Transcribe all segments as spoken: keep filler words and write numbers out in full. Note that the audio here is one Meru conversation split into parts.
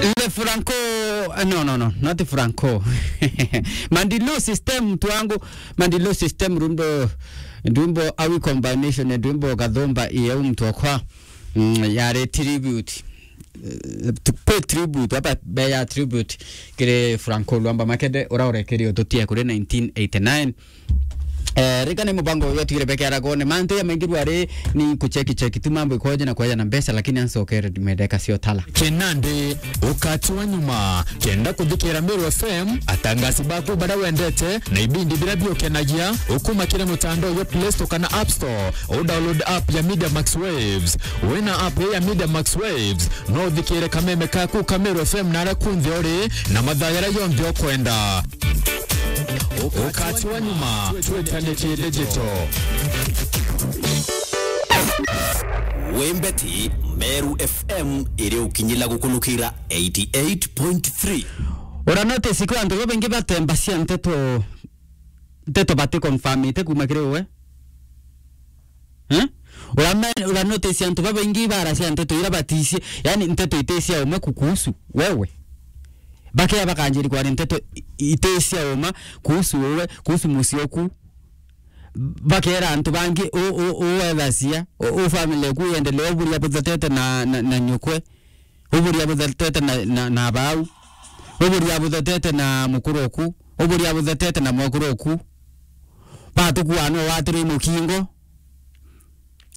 Ile Franco, eh, no, no, no, not Franco. Mandilu system, mtu wangu. Mandilu system, rwimbo, rwimbo Awi combination, rwimbo Gathumba, iye mtu wakwa. Mm, yare tribute. Eh, to pay tribute, hapa be ya tribute kiri Franco Luamba Makende, ura urekeri ututie kuri nineteen eighty-nine. Eh, rika ni mubango uyu atwire beke aragone. Mantu ya maingi rwari ni kucheki cheki tu mambo ikoje na kwaja na mbeca, lakini ansokere ndimendeka cio tala. Kinandi, ukati wa nyuma, kenda kuthikira Meru F M, atangasi baku baria wendete, na ibindi biria biukenagia, ukuma kiri mutandao jwa Play Store kana App Store, u download app ya Media Max Waves. Wina app ya Media Max Waves, no uthikire kameme kaku ka Meru F M na aria kunthe uri, na mathaa jaria jonthe ukwenda. Ukati wa nyuma, twetane ki digital. Wembeti, Meru F M iri ukinyila gukunukira eighty-eight point three. Ura notice kwa antu babaingi batemba cia nteto, nteto bati confirmite kuma kiri uwe? Eh? Ura me-, ura notice antu babaingi ibara cia nteto ira baticie, yani nteto iti cia uma kukuhusu wewe. Bakea bakanjiri kwaria nteto i-, iti cia uma kuhusu uwe, kuhusu mucii oku. Bakera antu bangi u-, u-, uwethacia, u-, u family eku yendelee uburia buthetete na, na, na nyukwe. Uburia buthetete na, na, na bau. Uburia buthetete na mukuru oku. Uburia buthetete na mwekuru oku. Batukua no watirwe mukingo.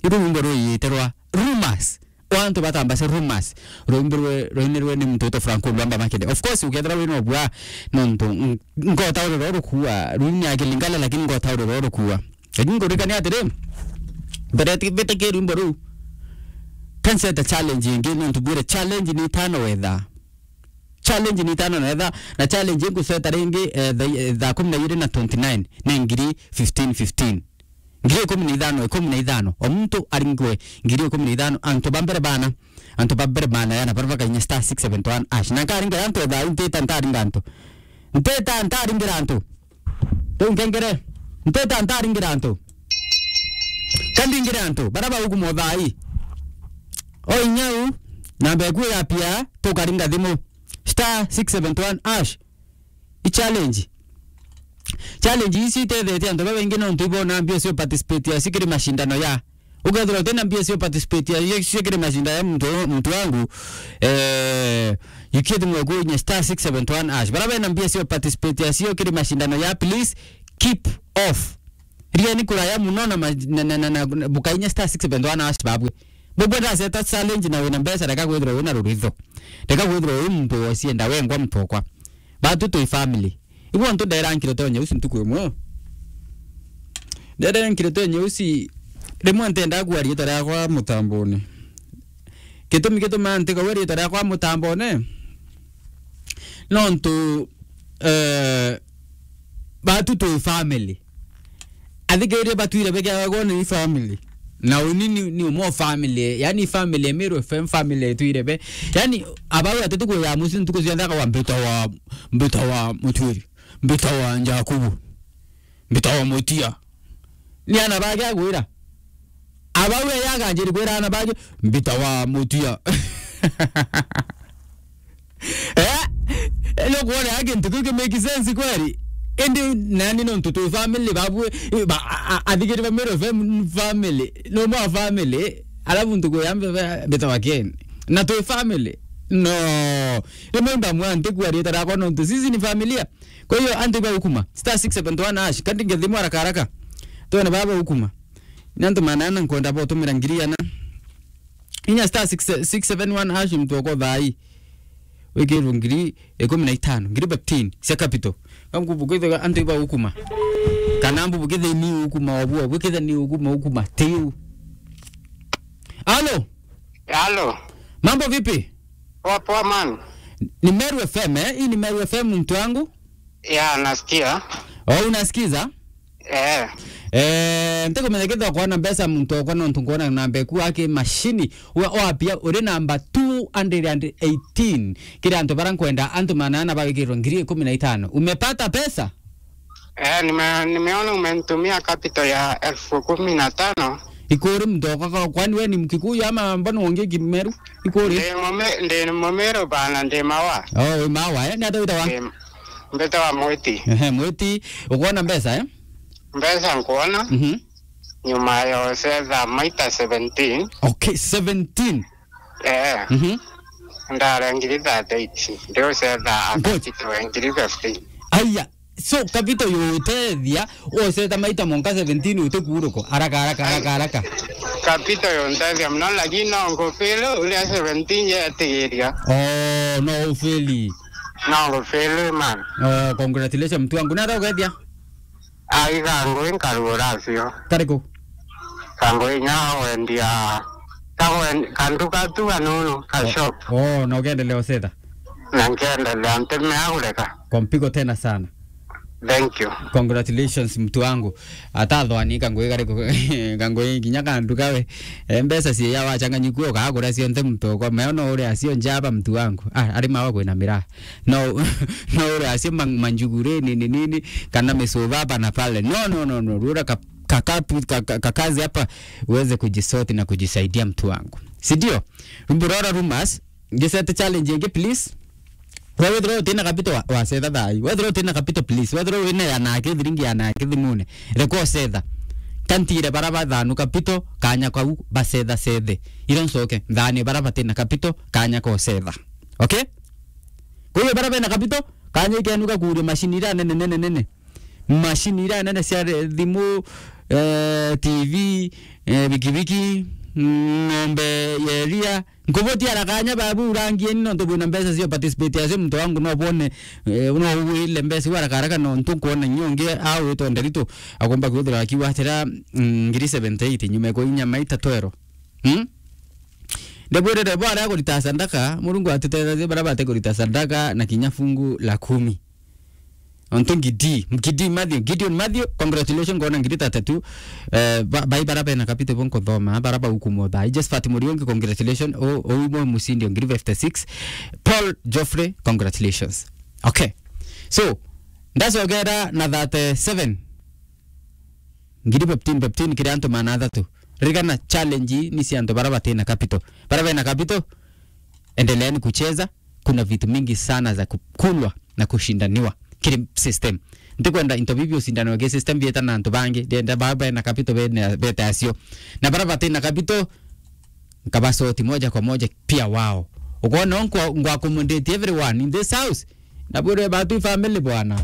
Iru rwimbo rwiyite rwa rumors. O antu batambace rumors. Rwimbo rwe, rwinirwe ni muntu witwa Franco Luamba Makende. Of course, ukethira wina ubua, nontu, n-, nkota uri rwa rukua. Rwini ya Kilingala, lakini nkota uri rwa rukua. Lakini ngurikania atiri, mbere ti-, bite ki rwimbo ruu. Kanseta challenge ingi, nontu bwire challenge ni itano wetha. Challenge ni itano na etha, na challenge inguseta ringi, eh, thaa, eh, thaa kumi na ijiri na twenty-nine, ni ngiri fifteen fifteen. Ngiri ikumi na ithano, ikumi na ithano. O muntu aringwe ngiri ikumi na ithano, antu ba mbere bana, antu ba mbere bana, yana, baria bakainya star six seven one hash. Na nkaringa antu thaa ii, ntita ntaringa antu. Ntita ntaringira antu. Riu nkengere. Ntita ntaringira antu. Kandingire antu, baria baukuma thaa ii. O inya u, namba eku ya pia, tukaringa thimu. Star six seven one hash. I challenge. Challenge ici itethetie antu babaingi nontu ibona mbio cio participate acio kiri mashindano ya. Ukethirwa utina mbio cio participate acio kiri mashindano ya muntu, muntu wangu, eh, yukie thimu eku inye star six seven one hash. Baria bena mbio cio participate acio kiri mashindano ya, please keep off. Rieni kuraya muno na ma-, na, na, na, na, na bukainya star six seven one hash babwe. Bubwe ndaceta challenge na wina mbeca, reka kwithirwa wina ruritho. Reka kwithirwa wi muntu wocienda wengwa mutokwa. Batu twi family. Igua ntu ndera nkiro tonye uci ntuku imwe. Ndera nkiro tonye uci, rimwe ntenda kua riitwa riakwa mutambone. Gitumi gituma ntikauga riitwa riakwa mutambone, nontu, eh, batu twi family. Athikiria batwire beke agagwo ni family. Na uni ni, ni umo family. Yani family, Meru F M family twire be. Yani, abau atete kuya muci ntuku cionthe akawa mbita wa, mbita wa Mutwiri. Mbita wa Njakubu. Mbita wa Mutia. Ni ana bage agwira. Abau ya yaganjiri kwira ana bage, mbita wa Mutia. Eh? Elo kuona ya kintu kiu ki make sense kweli? Indi nani nontu twi family babwe, ba, a, a, athikiri ba Meru F M family. No more family. Alafu ntuku ya mbe-, be-, mbita wa Ken. Na twi family. No. Rimwe ndamwa ntiku arieta rakwa nontu sisi ni familia. Kwa hiyo, antu iba ukuma. Star six seven one hash. Kandi ngethimwa haraka haraka. Twone baba ukuma. Ni antu manana nkwenda botumira ngiri ana. Inya star six, six seven one hash mtu wako thai. Wikirwo ngiri ikumi na itano, ngiri fifteen cia capital. Kamkubu kwithiga antu iba ukuma. Kana mbu bukithe ni ukuma obuo, bukithe ni ukuma, ukuma. Tiu. Alo? Halo. Mambo vipi? Poa poa man. Ni Meru F M, eh? Hii ni Meru F M, mtu wangu. Ya, nasikia. Oh, unasikiza? Eh. Eh, ntikumenya kethira kwona mbeca muntu okwa nontu nkwona namba eku aki mashini. Wa, wapia uri namba two hundred and eighteen. Kiri antu bara nkwenda antu manana bagikirwa ngiri ikumi na itano. Umepata pesa? Eh, nime-, nimeona umenitumia capital ya elfu kumi na tano. Ikuri mtoka kwa, kwani we ni Mkikuyu ama mbona uongei Kimeru? Ikuri? Ndi Mume-, ndi Mumeru bana, ndi Mawa. Oh, wi Mawa, eh? Ni ata witawa? Ndi, mbitawa Mwiti. Ehe, Mwiti. Ukwona mbeca, eh? Mbeca nkwona. Mhm. Nyuma ya ucetha maita seventeen. Okay, seventeen. Eh. Mhm. Ndare ngiri thirty-eight. Ndi ucetha Good. Akatitwe ngiri fifteen. Aya, so capital yutethia, ucetha maita monka seventeen utikuuruko. Haraka, haraka, haraka, haraka. Capital yuntethia muno, lakini no ngufili uria seventeen yetigiria. Oh, no ufili. No ngufili, man. Oh, congratulations, mtu wangu. Nata ugethia? Ai, kangui nkarugura cio. Kariku? Kangui nya wendia, ka wen-, kanduka tu kanunu, ka shop. Oh, na ukiendelea ucetha? Na nkiendelea, ntimea kureka. Kwa mpigo tena sana. Thank you. Congratulations, mtu wangu. Atathwani kangui kariku, kangui kinya kanduka we. Eh, mbeca cia wachanganyikua ukagura cionthe mtu kwa meono uri acio njaba, mtu wangu. Ah, ari Mawa kwina miraa. No, no uri acio man-, manjuguri nini nini, kana micuba hapa na pale. No, no, no, no. Rura ka-, kakapu-, ka-, ka-, kakazi hapa uweze kujisort na kujisaidia, mtu wangu. Si ndio? Rumburora rumors, ngisete challenge ingi, please. Wewe wethirwa utina capital wa, wacetha thaa ii. Wethirwa utina capital, please. Wethirwa wina ya nake, thiringi ya nake thimune. Reka ucetha. Kantire bara bathanu capital, kanya kau bacetha cethe. Iro ncoke, nthani bara batina capital, kanya ka ucetha. Okay? Kwa hiyo bara bena capital, kanya ikenu ga kuuria machine iria nene, nene, nene. Machine iria nene cia re-, thimu, eh, T V, eh, bikibiki, mm, ng'ombe ya iria. Nkubuti ara kanya babu urangieni nontu bwina mbeca cia participate acio, muntu wangu no bwone, eh, no ugwile mbeca iu haraka haraka nontu nkwona inya ungi au witwa Nderitu akomba kwithira akiuga atira, mm, ngiri seventy-eight nyuma ya kuinya maita twero. Hmm? Ndebwirire bo aria kurita sadaka, Murungu atutethagie bara bate kurita sadaka na kinya fungu la kumi. Ontu Ngidi, Ngidi Matthew, Gideon Matthew, congratulations, ngona ngiri thirty-two. Eh, ba-, bai bara bena capital bo nkuthoma, bara baukumwa thaa ii. Josephat Muriungi, congratulations, o, o imwe mushindi o ngiri fifty-six. Paul Geoffrey, congratulations. Okay. So, ndacogera na thirty-seven. Ngiri fifteen, fifteen kiri antu maana athatu. Ririkana challenge ii ni cia antu bara batina capital. Bara bena capital, endeleeni kucheza. Kuna vitu mingi sana za kukulwa na kushindaniwa kiri system. Ntikwenda into bibi ushindaniwe ki system bieta na antu bangi. Ndienda bara bena capital bene, bete acio. Na bara batina capital, nkabasoti moja kwa moja pia wao. Ukwona nkwa, ngwa accommodate everyone in this house. Na bure batu family bwana.